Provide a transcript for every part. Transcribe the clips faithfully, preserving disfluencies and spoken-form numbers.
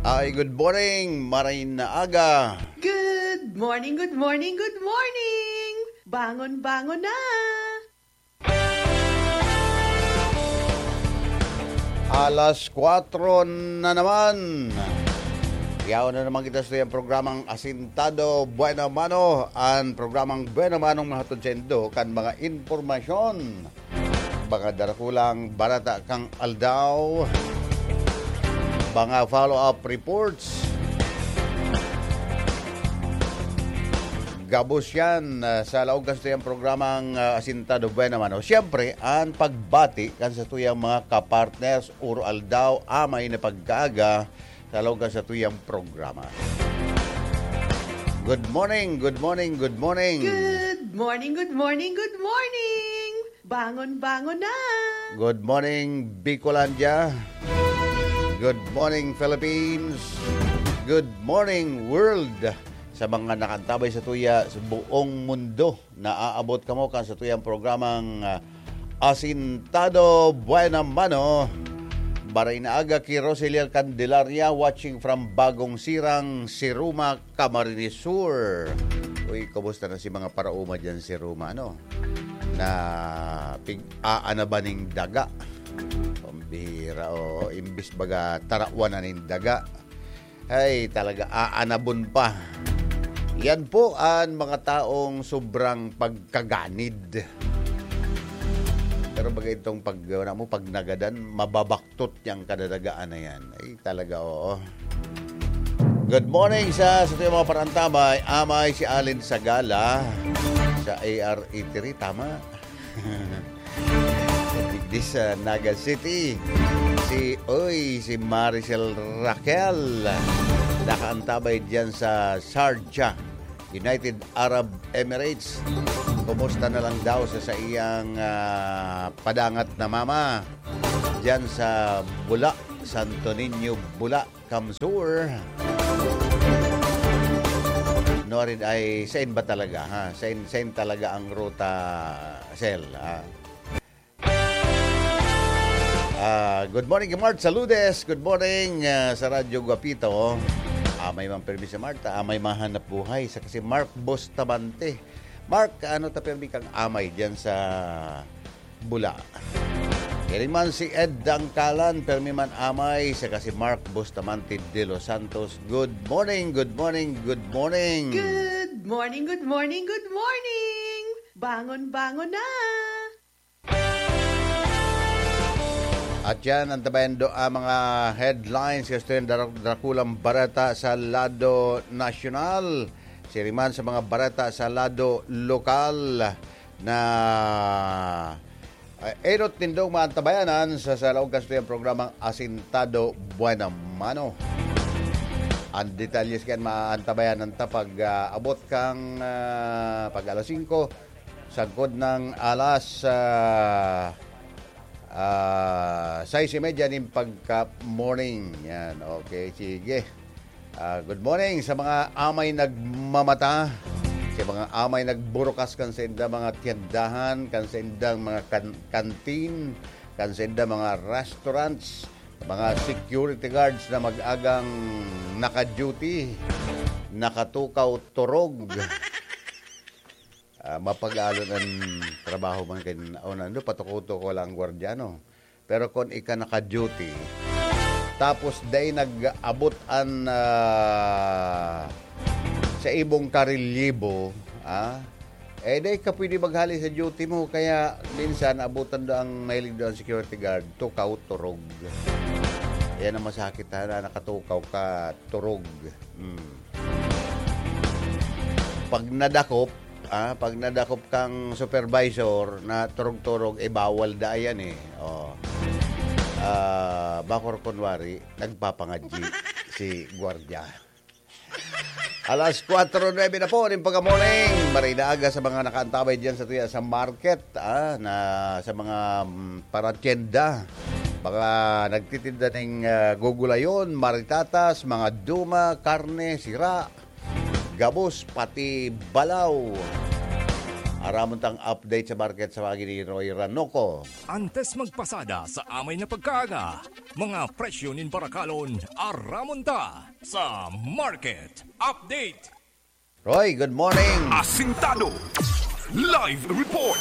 Ay, good morning, maray na aga. Good morning, good morning, good morning! Bangon, bangon na! Alas kwatro na naman. Yaon na naman kita sa iyang programang Asintado Buena Mano. Ang programang Buena Mano ang mahatod sa indo kan mga impormasyon, mga darakulang barata kan aldaw, mga follow-up reports. Gabos yan, ah, sa laog kan satuyang programang, ah, Asintado Buena Mano. Siyempre, ang pagbati kan satuyang mga kapartners, uro aldaw, amay na pagkaaga, sa laog kan satuyang programa. Good morning, good morning, good morning. Good morning, good morning, good morning! Bangon, bangon na! Good morning, Bicolandia. Good morning, Philippines. Good morning, world. Sa mga nakaantabay satuya sa buong mundo, naaabot kamo kan satuyang programang, ah, Asintado Buena Mano. Maray na aga ki Roseliel Candelaria, watching from Bagong Sirang, Siruma, Camarines Sur. Uy, kumusta na si mga paraoma dyan, Siruma, ano? Na pig-aanaban ning daga. Pambihira, o imbis baga tarawan na ning daga. Ay, talaga, aanabon pa. Yan po ang mga taong sobrang pagkaganid. Pero baga itong pag, wala mo, pag nagadan, mababaktot yang kadadagaan na yan. Ay, talaga, oo. Good morning sa, sa mga parantabay. Amay si Alin Sagala sa A R eighty-three, tama? Digdi sa Naga City. Si, oy, si Maricel Raquel. Nakaantabay diyan sa Sharjah, United Arab Emirates. Kumusta na lang daw sa saiyang, ah, padangat na mama? Diyan sa Bula, Santo Niño, Bula, Kamsur. Norin ay sain ba talaga, ha? Sain, sain talaga ang ruta, Sel, ha? Ah, good morning, Mart Saludes. Good morning, ah, sa Radyo Guapito. Amay man permi si Marta, amay mahanap buhay. Sa kasi Mark Bustamante. Mark, ano ta permi kang amay diyan sa Bula? Kini man si Ed Dangkalan, permi man amay, sa kasi Mark Bustamante de los Santos. Good morning, good morning, good morning. Good morning, good morning, good morning. Bangon, bangon na. At yan, antabayan do ang mga headlines, gusto yung dara-, darakulang bareta sa lado nasyonal. Siriman sa mga bareta sa lado lokal na, eh, enot nindong maantabayanan sa, sa laog kan satuyang programang Asintado Buena Mano. Ang detalye kan maantabayanan ta pag, ah, abot kang, ah, pag alas singko, sagkod ng alas, ah, ah, sais y media nin pagka-morning. Yan, okay, sige. Ah, good morning sa mga amay nagmamata, sa mga amay nagburukas kan sainda mga tiyandahan, kan saindang mga kan-, kantin, kan sainda mga restaurants, mga security guards na mag-agang naka-duty, nakatukaw, turog. Ah, mapag-alon an trabaho man kay, o nando, patuko-tuko lang ang gwardiya, no? Pero kun ika naka-duty, tapos dai nag-abot an, ah, sa ibong karelyibo, ah, eh, dai ka pwede maghali sa duty mo. Kaya minsan, abutan do ang mahilig do ang security guard, tukaw, turog. Yan ang masakit, ha, na nakatukaw ka, turog. Hmm. Pag nadakop, ah, pag nadakop kang supervisor na turog-turog, eh, bawal da yan, eh. Oh. Ah, bakor kunwari, nagpapangadji si gwardiya. Alas kwatro nuebe na po nin pagka-morning. Maray na aga sa mga nakaantabay diyan sa tuya sa market, ah, na sa mga, mm, paratyenda. Mga nagtitinda ning, ah, gugulayon, maritatas, mga duma, karne, sira, gabos, pati balaw. Aramon tang update sa market sa pagi ni Roy Ranoco. Antes magpasada sa amay na pagkaaga, mga presyo nin barakalon, aramon ta sa Market Update. Roy, good morning. Asintado. Live report.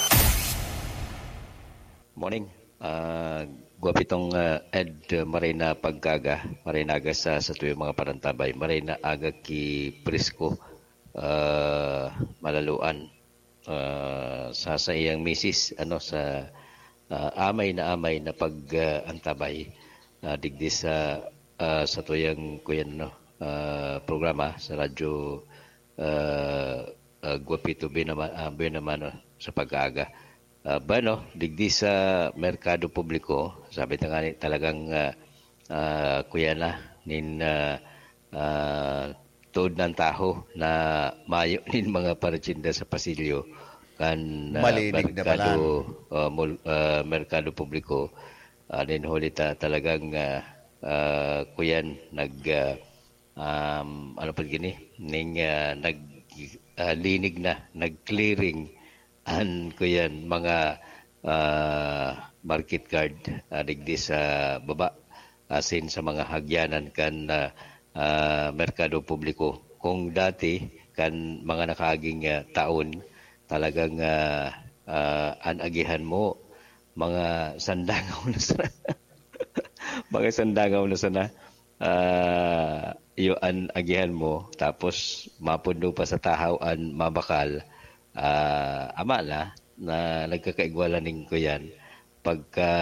Morning. Ah, guwapitong ah, Ed, ah, maray na pagkaga, maray na aga sa sa tuyong mga parantabay, maray na aga ki presko, ah, malaluan ah, sa sa iyang misis, ano, sa ah, amay na amay na pag ah, antabay ah, digdi sa ah, sa tuyang kuyan, no, ah, programa sa radyo, ah, ah, Guapito Binama, ah, Binamano sa pag-aaga. Ah, bueno, digdi sa merkado publiko, sabi ta nga ni, talagang ah, ah, kuya na nin ah, ah, tuod nang taho na mayo nin mga paratsinda sa pasilyo kan ah, Malinig na merkado ah, mul- ah, merkado publiko. Ah, nin huli ta talagang ah, ah, kuyan nag ah, um, ano pa gini ning ah, nag ah, linig na, nag-clearing an kuyan mga ah, market guard ah, digdi sa baba, asin sa mga hagyanan kan ah, ah, merkado publiko. Kung dati kan mga nakaaging ah, taon, talagang ah, ah, an agihan mo mga sandangaw na sana. Mga sandangaw na sana. Ah, iyo an agihan mo, tapos mapundo pa sa tahaw an mabakal. Ah, ama na na nagkakaigwalan ning kuyan pagka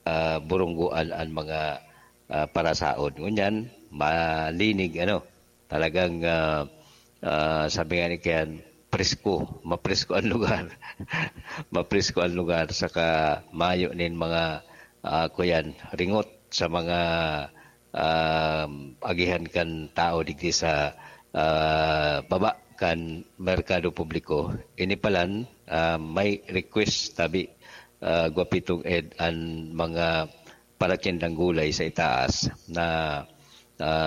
ah, burunggoan an mga ah, parasaon. Ngunyan, malinig, ano, talagang ah, ah, sabi nga ni Kian, presko, mapresko ang lugar. Mapresko ang lugar, saka mayo nin mga ah, kuyan, ringot sa mga ah, agihan kan tao digdi sa ah, baba kan merkado publiko. Ini palan, ah, may request tabi ah, Guapitong Ed, an mga paratyendang gulay sa itaas na ah,